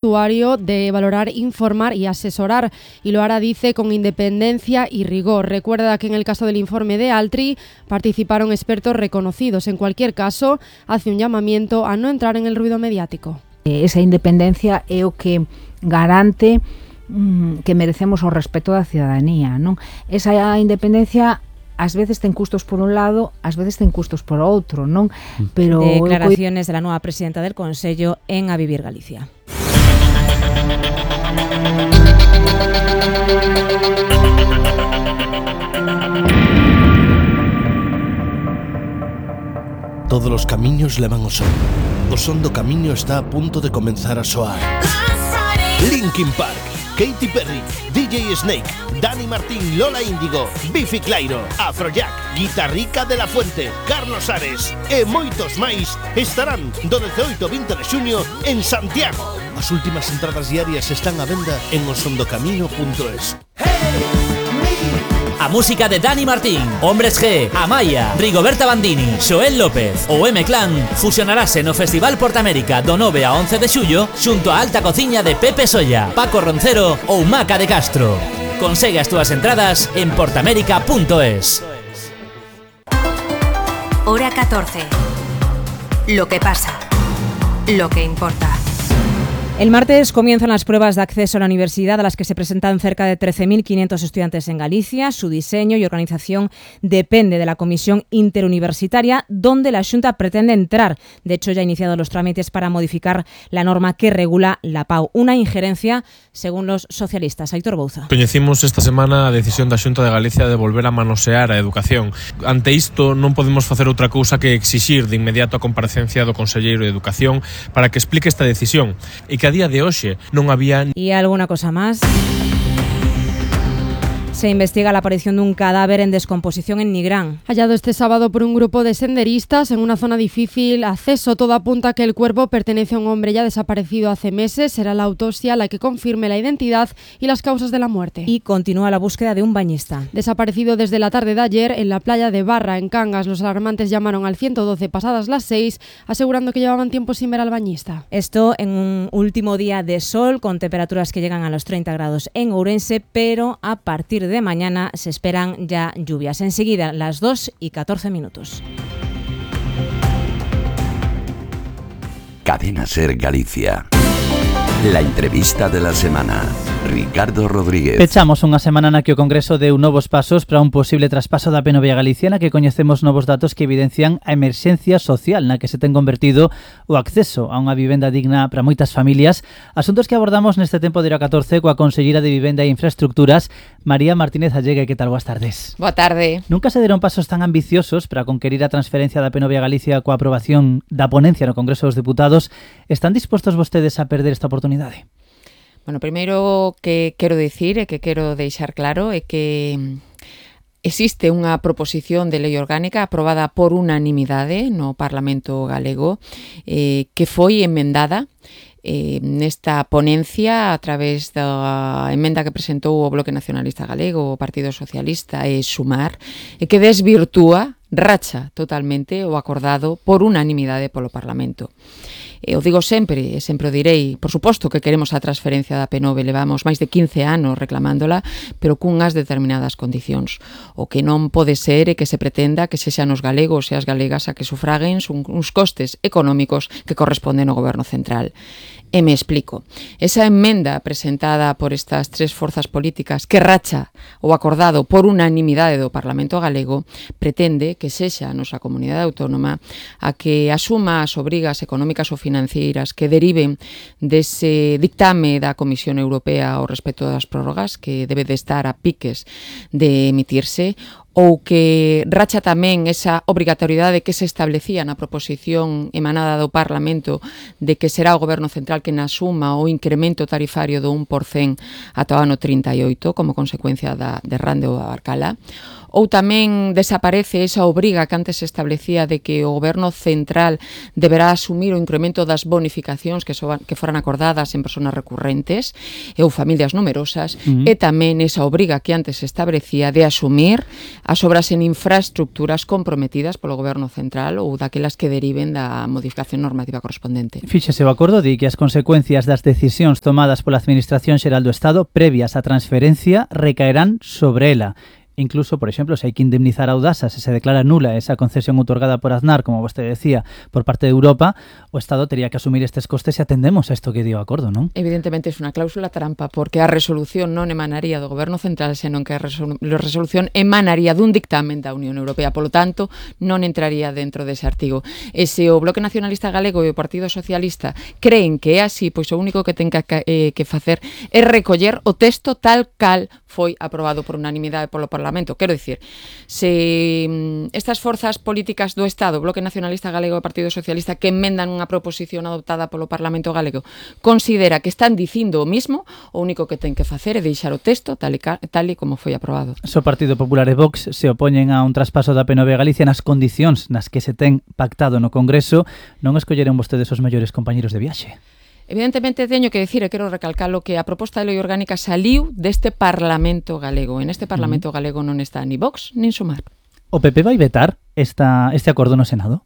usuario de valorar, informar y asesorar, y lo hará, dice, con independencia y rigor. Recuerda que en el caso del informe de Altri participaron expertos reconocidos. En cualquier caso, hace un llamamiento a no entrar en el ruido mediático. Esa independencia é o que garante que merecemos o respeto da cidadanía, non? Esa independencia ás veces ten custos por un lado, ás veces ten custos por outro, non? Pero declaraciones de la nueva presidenta del Consello en A Vivir Galicia. Todos los camiños levan ao son. O son do camiño está a punto de comenzar a soar. Linkin Park, Katy Perry, DJ Snake, Dani Martín, Lola Índigo, Bifi Clyro, Afrojack, Guitarrica de la Fuente, Carlos Ares e moitos máis estarán do 18 ao 20 de xuño en Santiago. As últimas entradas diarias están á venda en osondocamiño.es. A música de Dani Martín, Hombres G, Amaya, Rigoberta Bandini, Xoel López ou M-Clan fusionarase no Festival Portamérica do 9 a 11 de xullo xunto a Alta Cociña de Pepe Solla, Paco Roncero ou Maca de Castro. Consegue as túas entradas en portamérica.es. Hora 14. Lo que pasa. Lo que importa. El martes comienzan las pruebas de acceso a la universidad a las que se presentan cerca de 13.500 estudiantes en Galicia. Su diseño y organización depende de la Comisión Interuniversitaria, donde la Xunta pretende entrar. De hecho, ya ha iniciado los trámites para modificar la norma que regula la PAU. Una injerencia, según los socialistas. Aitor Bouza. Coñecimos esta semana a decisión da Xunta de Galicia de volver a manosear a educación. Ante isto, non podemos facer outra cousa que exixir de inmediato a comparecencia do Conselleiro de Educación para que explique esta decisión e que a día de hoxe non había... ¿Y alguna cosa más? Se investiga la aparición de un cadáver en descomposición en Nigrán. Hallado este sábado por un grupo de senderistas en una zona difícil acceso, todo apunta a que el cuerpo pertenece a un hombre ya desaparecido hace meses. Será la autopsia la que confirme la identidad y las causas de la muerte. Y continúa la búsqueda de un bañista. Desaparecido desde la tarde de ayer en la playa de Barra, en Cangas. Los alarmantes llamaron al 112 pasadas las 6, asegurando que llevaban tiempo sin ver al bañista. Esto en un último día de sol, con temperaturas que llegan a los 30 grados en Ourense, pero a partir de mañana se esperan ya lluvias. Enseguida, las 2:14. Cadena Ser Galicia. La entrevista de la semana. Ricardo Rodríguez. Pechamos unha semana na que o Congreso deu novos pasos para un posible traspaso da Penovia Galicia, na que coñecemos novos datos que evidencian a emerxencia social na que se ten convertido o acceso a unha vivenda digna para moitas familias. Asuntos que abordamos neste tempo de Hora 14 coa Conselleira de Vivenda e Infraestructuras, María Martínez Allegue. Que tal? Boas tardes. Boa tarde. Nunca se deron pasos tan ambiciosos para conquerir a transferencia da Penovia Galicia coa aprobación da ponencia no Congreso dos Deputados. Están dispostos vostedes a perder esta oportunidade? Bueno, primeiro que quero dicir e que quero deixar claro é que existe unha proposición de lei orgánica aprobada por unanimidade no Parlamento galego que foi emendada nesta ponencia a través da emenda que presentou o Bloque Nacionalista Galego, o Partido Socialista e Sumar, e que desvirtúa, racha totalmente o acordado por unanimidade polo Parlamento. Eu digo sempre, e sempre o direi, por suposto que queremos a transferencia da Penove, levamos máis de 15 anos reclamándola, pero cunhas determinadas condicións. O que non pode ser é que se pretenda que sexan os galegos e as galegas a que sufraguen uns costes económicos que corresponden ao Goberno Central. E me explico. Esa emenda presentada por estas tres forzas políticas que racha o acordado por unanimidade do Parlamento galego pretende que sexa a nosa comunidade autónoma a que asuma as obrigas económicas ou financeiras que deriven dese dictame da Comisión Europea ao respecto das prórrogas, que debe de estar a piques de emitirse, ou que racha tamén esa obrigatoriedade que se establecía na proposición emanada do Parlamento de que será o Goberno Central que asuma o incremento tarifario do 1% ata o ano 38 como consecuencia da derrande ou da Barcala, ou tamén desaparece esa obriga que antes se establecía de que o Goberno central deberá asumir o incremento das bonificacións que foran acordadas en persoas recurrentes ou familias numerosas, e tamén esa obriga que antes se establecía de asumir as obras en infraestructuras comprometidas polo Goberno central ou daquelas que deriven da modificación normativa correspondente. Fíxese, o acordo di que as consecuencias das decisións tomadas pola Administración Xeral do Estado previas á transferencia recaerán sobre ela. Incluso, por exemplo, se hai que indemnizar a Audasa se declara nula esa concesión outorgada por Aznar, como vostede decía, por parte de Europa, o Estado tería que asumir estes costes se atendemos a isto que dio o acordo, non? Evidentemente é unha cláusula trampa, porque a resolución non emanaría do Goberno central, senón que a resolución emanaría dun dictamen da Unión Europea, polo tanto, non entraría dentro dese artigo. E se o Bloque Nacionalista Galego e o Partido Socialista creen que é así, pois o único que ten que facer é recoller o texto tal cal foi aprobado por unanimidade polo Parlamento. Quero dicir, se estas forzas políticas do Estado, Bloque Nacionalista Galego e Partido Socialista, que enmendan unha proposición adoptada polo Parlamento Galego, considera que están dicindo o mismo, o único que ten que facer é deixar o texto tal e como foi aprobado. O Partido Popular e Vox se opoñen a un traspaso da PNV a Galicia nas condicións nas que se ten pactado no Congreso. Non escolleron vostedes os mellores compañeros de viaxe? Evidentemente teño que dicir, e quero recalcalo, que a proposta de lei orgánica saliu deste Parlamento Galego. En este Parlamento Galego non está ni Vox nin Sumar. O PP vai vetar este acordo no Senado?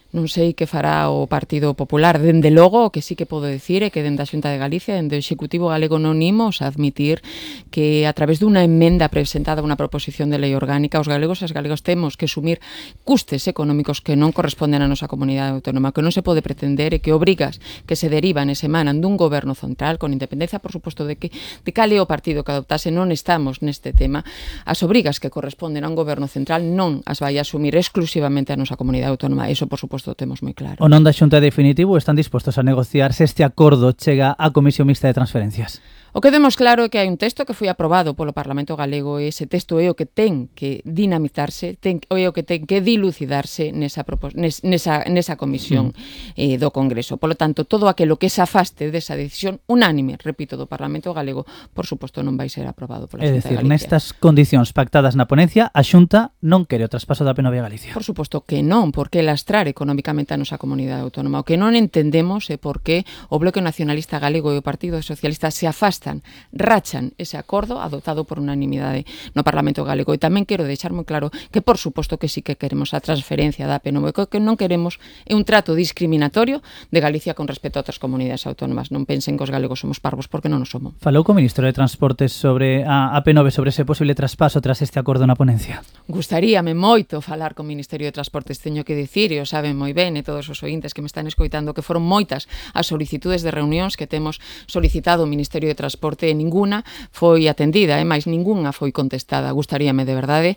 Non sei que fará o Partido Popular. Dende logo, o que sí que podo dicir é que dende a Xunta de Galicia, dende o Executivo Galego, non imos a admitir que a través dunha emenda presentada unha proposición de lei orgánica, os galegos e as galegas temos que asumir custes económicos que non corresponden á nosa comunidade autónoma, que non se pode pretender e que obrigas que se derivan e se emanan dun goberno central, con independencia, por suposto, de cal é o partido que adoptase, non estamos neste tema. As obrigas que corresponden a un goberno central non as vai a asumir exclusivamente a nosa comunidade autónoma. Eso, por suposto, temos moi claro. O non da Xunta definitivo están dispostos a negociar se este acordo chega á Comisión Mixta de Transferencias? O que vemos claro é que hai un texto que foi aprobado polo Parlamento Galego e ese texto é o que ten que dinamitarse, é o que ten que dilucidarse nesa comisión do Congreso. Polo tanto, todo aquilo que se afaste desa decisión unánime, repito, do Parlamento Galego, por suposto non vai ser aprobado pola Xunta de Galicia. É dicir, nestas condicións pactadas na ponencia, a Xunta non quere o traspaso da PNV a Galicia. Por suposto que non, porque lastrar económicamente a nosa comunidade autónoma. O que non entendemos é por que o Bloque Nacionalista Galego e o Partido Socialista se afastan, rachan ese acordo adoptado por unanimidade no Parlamento Galego. E tamén quero deixar moi claro que, por suposto, que sí que queremos a transferencia da PNV, que non queremos é un trato discriminatorio de Galicia con respecto a outras comunidades autónomas. Non pensen que os galegos somos parvos, porque non o somos. Falou co Ministro de Transportes sobre a PNV, sobre ese posible traspaso tras este acordo na ponencia? Gustaríame moito falar co Ministerio de Transportes, teño que dicir, e o saben moi ben, e todos os ointes que me están escoitando, que foron moitas as solicitudes de reunións que temos solicitado o Ministerio de Transporte e ninguna foi atendida, máis ningunha foi contestada. Gustaríame de verdade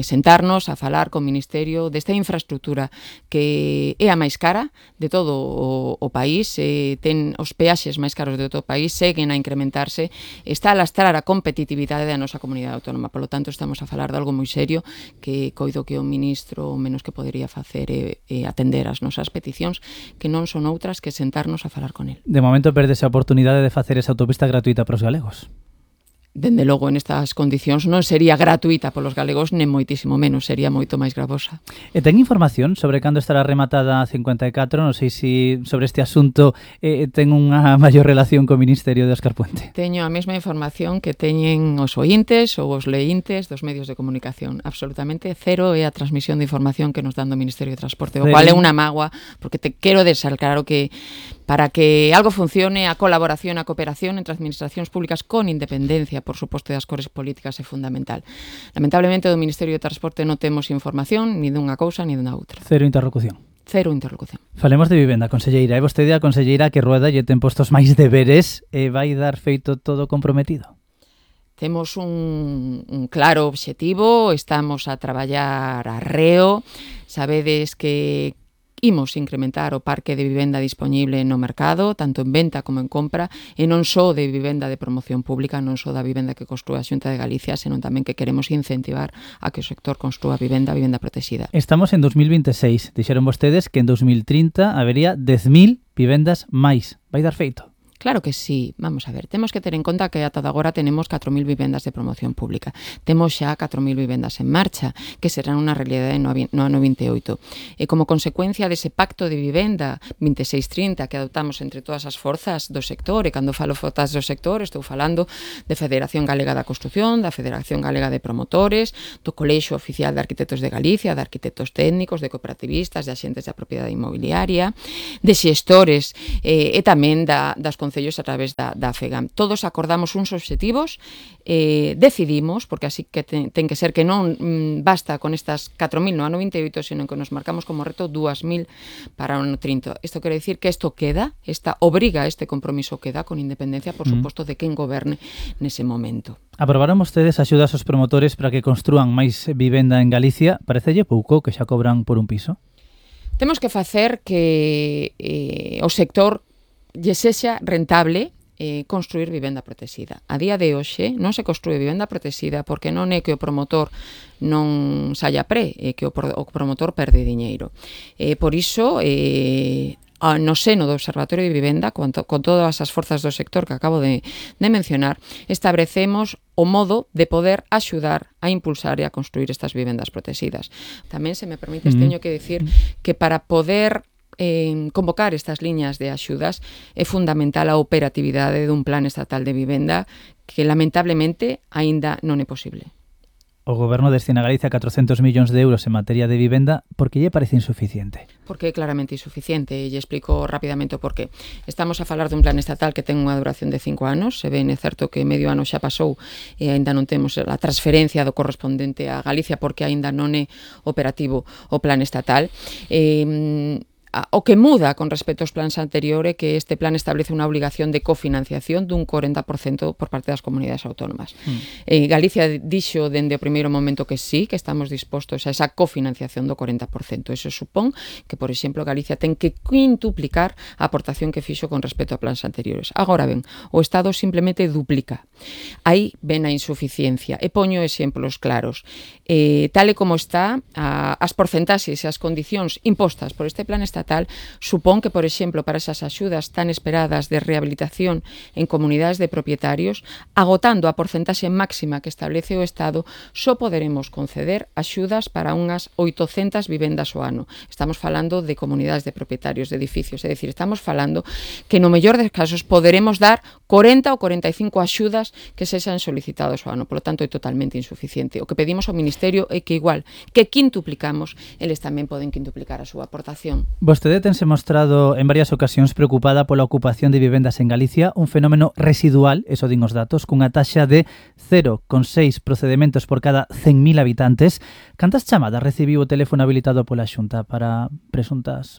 sentarnos a falar co Ministerio desta infraestructura que é a máis cara de todo o país, ten os peaxes máis caros de todo o país, seguen a incrementarse, está a lastrar a competitividade da nosa comunidade autónoma. Polo tanto, estamos a falar de algo moi serio que coido que o ministro o menos que podería facer é atender as nosas peticións, que non son outras que sentarnos a falar con el. De momento perdese a oportunidade de facer esa autopista gratuita para os galegos. Dende logo, nestas condicións non sería gratuita polos galegos, nem moitísimo menos, sería moito máis gravosa. E ten información sobre cando estará rematada a 54? Non sei se sobre este asunto ten unha maior relación co Ministerio de Óscar Puente. Teño a mesma información que teñen os ointes ou os leíntes dos medios de comunicación. Absolutamente cero é a transmisión de información que nos dan do Ministerio de Transporte, o cual é unha mágoa, porque te quero deixar claro que para que algo funcione, a colaboración, a cooperación entre administracións públicas con independencia, por suposto, das cores políticas é fundamental. Lamentablemente, do Ministerio de Transporte non temos información ni dunha cousa ni dunha outra. Cero interlocución. Cero interlocución. Falemos de vivenda, conselleira. É vostede a conselleira que rueda e ten postos máis deberes e vai dar feito todo comprometido? Temos un claro obxectivo, estamos a traballar arreo, sabedes que imos incrementar o parque de vivenda disponible no mercado, tanto en venta como en compra, e non só de vivenda de promoción pública, non só da vivenda que construa a Xunta de Galicia, senón tamén que queremos incentivar a que o sector construa vivenda protexida. Estamos en 2026. Dixeron vostedes que en 2030 habería 10.000 vivendas máis. Vai dar feito? Claro que sí, vamos a ver, temos que ter en conta que ata agora tenemos 4.000 vivendas de promoción pública, temos xa 4.000 vivendas en marcha, que serán unha realidade no ano 28. E como consecuencia dese pacto de vivenda 26-30 que adoptamos entre todas as forzas do sector, e cando falo forzas do sector estou falando de Federación Galega da Construción, da Federación Galega de Promotores, do Colexio Oficial de Arquitectos de Galicia, de arquitectos técnicos, de cooperativistas, de axentes da propiedade inmobiliaria, de xestores e tamén das concellos a través da FEGAM. Todos acordamos uns obxectivos, decidimos, porque así que ten que ser que non basta con estas 4.000 no ano 28, senón que nos marcamos como reto 2.000 para o ano 30. Isto quere dicir que isto queda, esta obriga, este compromiso queda, con independencia, por suposto, de quen goberne nese momento. Aprobaron vostedes axudas aos promotores para que construan máis vivenda en Galicia. Parecelle pouco que xa cobran por un piso? Temos que facer que o sector lle sexa rentable construir vivenda protexida. A día de hoxe non se construe vivenda protexida porque non é que o promotor non saia pre, é que o promotor perde diñeiro. Por iso, no seno do Observatorio de Vivenda, con todas as forzas do sector que acabo de mencionar, establecemos o modo de poder axudar a impulsar e a construir estas vivendas protegidas. Tamén, se me permites, teño que dicir que para poder convocar estas liñas de axudas é fundamental a operatividade dun plan estatal de vivenda que lamentablemente aínda non é posible. O Goberno destina a Galicia 400 millóns de euros en materia de vivenda. Por que lle parece insuficiente? Porque é claramente insuficiente, e lle explico rapidamente o porqué. Estamos a falar dun plan estatal que ten unha duración de 5 anos, se ben é certo que medio ano xa pasou e aínda non temos a transferencia do correspondente a Galicia porque aínda non é operativo o plan estatal. O que muda con respecto aos plans anteriores é que este plan establece unha obligación de cofinanciación dun 40% por parte das comunidades autónomas. Galicia dixo dende o primeiro momento que sí, que estamos dispostos a esa cofinanciación do 40%. Eso supón que, por exemplo, Galicia ten que quintuplicar a aportación que fixo con respecto a plans anteriores. Agora ben, o Estado simplemente duplica. Aí ven a insuficiencia. E poño exemplos claros. Tal e como está, as porcentaxes e as condicións impostas por este plan estatal supón que, por exemplo, para esas axudas tan esperadas de rehabilitación en comunidades de propietarios, agotando a porcentaxe máxima que establece o Estado, só poderemos conceder axudas para unhas 800 vivendas ao ano. Estamos falando de comunidades de propietarios de edificios, é dicir, estamos falando que no mellor dos casos poderemos dar 40 ou 45 axudas que sexan solicitados ao ano. Por lo tanto, é totalmente insuficiente. O que pedimos ao Ministerio é que igual que quintuplicamos, eles tamén poden quintuplicar a súa aportación. Vostede tense mostrado en varias ocasións preocupada pola ocupación de vivendas en Galicia, un fenómeno residual, eso din os datos, cunha taxa de 0,6 procedementos por cada 100.000 habitantes. Cantas chamadas recibiu o teléfono habilitado pola Xunta para presuntos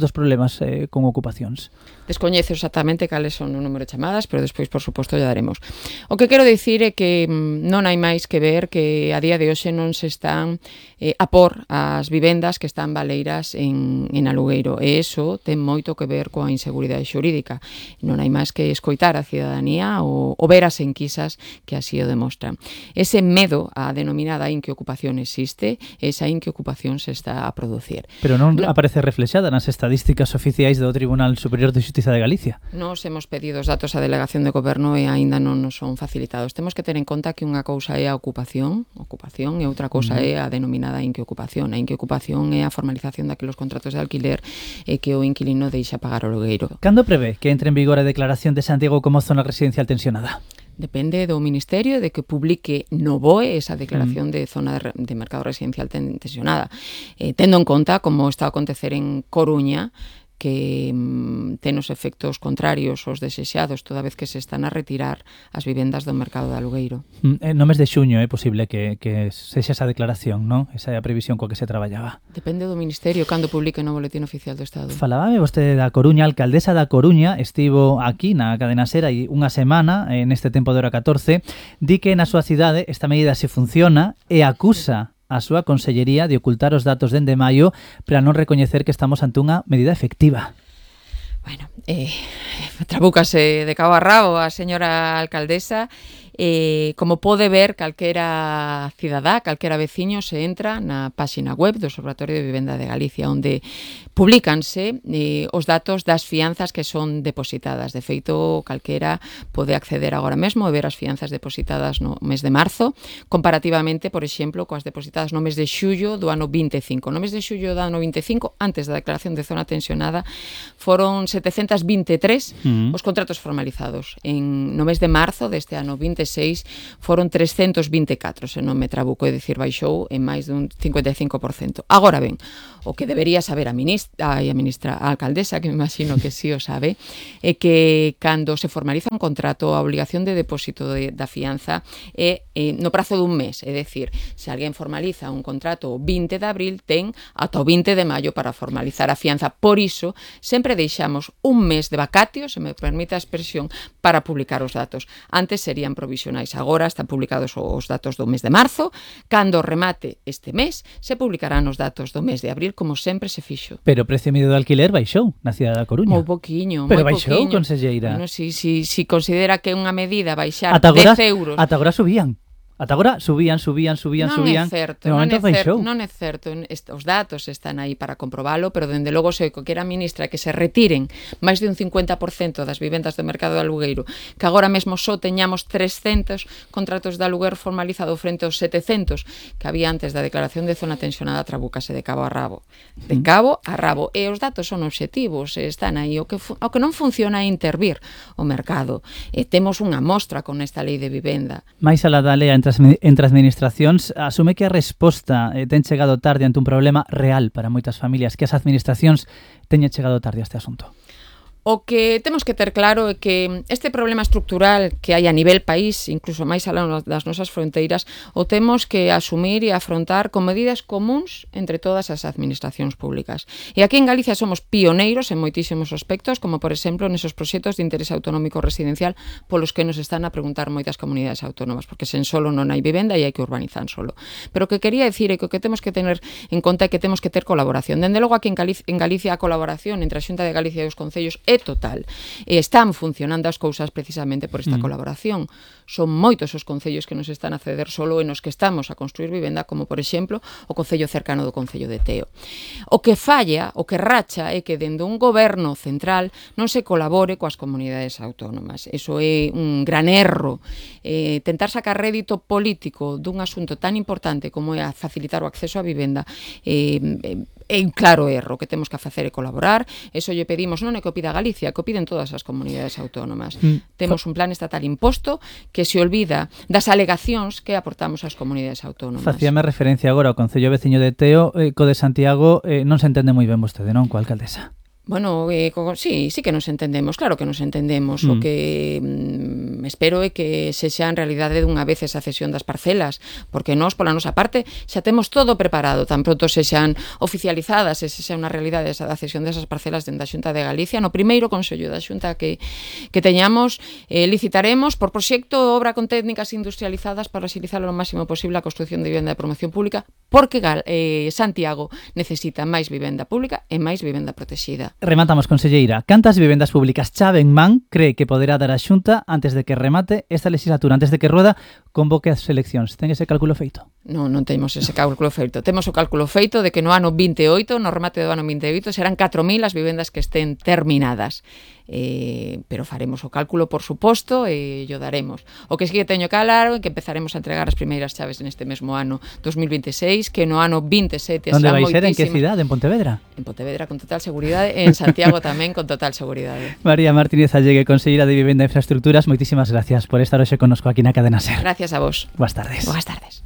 problemas con ocupacións? Descoñezo exactamente cales son o número de chamadas, pero despois, por suposto, ya daremos. O que quero dicir é que non hai máis que ver que a día de hoxe non se están a por as vivendas que están baleiras en alugueiro, e iso ten moito que ver coa inseguridade xurídica. Non hai máis que escoitar a cidadanía ou ver as enquisas que así o demostran. Ese medo á denominada inqueocupación existe, esa inqueocupación se está a producir. Pero non aparece reflexada nas estadísticas oficiais do Tribunal Superior de Xustiza de Galicia. Nos hemos pedido os datos á Delegación de Goberno e aínda non nos son facilitados. Temos que ter en conta que unha cousa é a ocupación e outra cousa é a denominada inqueocupación. A inqueocupación é a formalización daqueles contratos de alquiler e que o inquilino deixa pagar o alugueiro. Cando prevé que entre en vigor a declaración de Santiago como zona residencial tensionada? Depende do Ministerio de que publique no BOE esa declaración de zona de mercado residencial tensionada. Tendo en conta como está a acontecer en Coruña, que ten os efectos contrarios aos desexados toda vez que se están a retirar as vivendas do mercado de alugueiro. No mes de xuño é posible que sexa esa declaración, non? Esa é a previsión coa que se traballaba. Depende do Ministerio cando publique no Boletín Oficial do Estado. Falábame vostede da Coruña, a alcaldesa da Coruña estivo aquí na cadena SER hai unha semana, neste tempo de hora 14, di que na súa cidade esta medida se funciona e acusa a súa consellería de ocultar os datos dende maio para non recoñecer que estamos ante unha medida efectiva. Bueno, trabúcase de cabo a rabo a señora alcaldesa Como pode ver calquera cidadá, calquera veciño, se entra na páxina web do Observatorio de Vivenda de Galicia, onde publícanse os datos das fianzas que son depositadas. De feito, calquera pode acceder agora mesmo e ver as fianzas depositadas no mes de marzo, comparativamente, por exemplo, coas depositadas no mes de xullo do ano 25. No mes de xullo do ano 25, antes da declaración de zona tensionada, foron 723 os contratos formalizados. No mes de marzo deste ano 26 foron 324, se non me trabuco, é dicir, baixou en máis dun 55%. Agora ben, o que debería saber a alcaldesa, que me imagino que sí o sabe, é que cando se formaliza un contrato, a obligación de depósito da fianza é no prazo dun mes, é dicir, se alguén formaliza un contrato o 20 de abril, ten ata o 20 de maio para formalizar a fianza. Por iso, sempre deixamos un mes de vacatio, se me permite a expresión, para publicar os datos. Antes serían provisionais, agora están publicados os datos do mes de marzo. Cando remate este mes, se publicarán os datos do mes de abril, como sempre se fixo. Pero o precio medio do alquiler baixou na cidade da Coruña. Moi poquiño, pero baixou, conselleira. Bueno, si considera que é unha medida baixar 10 euros... Ata agora subían. Ata agora subían. Non é certo, non é certo. Os datos están aí para comprobalo, pero dende logo se o que era ministra que se retiren máis de un 50% das vivendas do mercado de alugueiro, que agora mesmo só teñamos 300 contratos de aluguer formalizado frente aos 700 que había antes da declaración de zona tensionada, trabúcase de cabo a rabo. De cabo a rabo. E os datos son obxectivos, están aí. O que non funciona é intervir o mercado. Temos unha mostra con esta lei de vivenda. Mais alá da lei entre administracións, asume que a resposta ten chegado tarde ante un problema real para moitas familias, que as administracións teñen chegado tarde a este asunto. O que temos que ter claro é que este problema estructural que hai a nivel país, incluso máis alá das nosas fronteiras, o temos que asumir e afrontar con medidas comuns entre todas as administracións públicas. E aquí en Galicia somos pioneiros en moitísimos aspectos, como por exemplo nesos proxectos de interés autonómico residencial polos que nos están a preguntar moitas comunidades autónomas, porque sen solo non hai vivenda e hai que urbanizar solo. Pero o que quería decir é que o que temos que tener en conta é que temos que ter colaboración. Dende logo aquí en Galicia a colaboración entre a Xunta de Galicia e os concellos é total. Están funcionando as cousas precisamente por esta colaboración. Son moitos os concellos que nos están a ceder solo e nos que estamos a construir vivenda, como por exemplo o concello cercano do concello de Teo. O que falla, o que racha, é que dende un goberno central non se colabore coas comunidades autónomas. Eso é un gran erro. Tentar sacar rédito político dun asunto tan importante como é a facilitar o acceso á vivenda é un claro erro. Que temos que facer é colaborar. Eso lle pedimos, non é que o pida Galicia, que o piden todas as comunidades autónomas. Temos un plan estatal imposto que se olvida das alegacións que aportamos ás comunidades autónomas. Facíame referencia agora ao concello veciño de Teo, co de Santiago, non se entende moi ben vostede, non, coa alcaldesa? Bueno, sí que nos entendemos, claro que nos entendemos. O que espero é que sexa en realidade dunha vez esa cesión das parcelas, porque nós, pola nosa parte, xa temos todo preparado, tan pronto sexan oficializadas, e sexa unha realidade esa da cesión desas parcelas dentro da Xunta de Galicia. No primeiro Consello da Xunta que teñamos, licitaremos por proxecto obra con técnicas industrializadas para axilizar o máximo posible a construción de vivenda de promoción pública, porque Santiago necesita máis vivenda pública e máis vivenda protexida. Rematamos, conselleira. Cantas vivendas públicas chave en man cree que poderá dar a Xunta antes de que remate esta legislatura, antes de que Rueda convoque as eleccións? Ten ese cálculo feito? Non temos ese cálculo feito. Temos o cálculo feito de que no ano 28, no remate do ano 28, serán 4.000 as vivendas que estén terminadas. Pero faremos o cálculo, por suposto, e o daremos. O que sí que teño claro é que empezaremos a entregar as primeiras chaves neste mesmo ano 2026, que no ano 27 Onde vai ser? En que cidade? En Pontevedra? En Pontevedra, con total seguridade, en Santiago tamén, con total seguridade. María Martínez Allegue, conselleira de Vivenda e Infraestructuras, moitísimas gracias por estar hoxe connosco aquí na Cadena SER. Gracias a vos. Boas tardes. Boas tardes.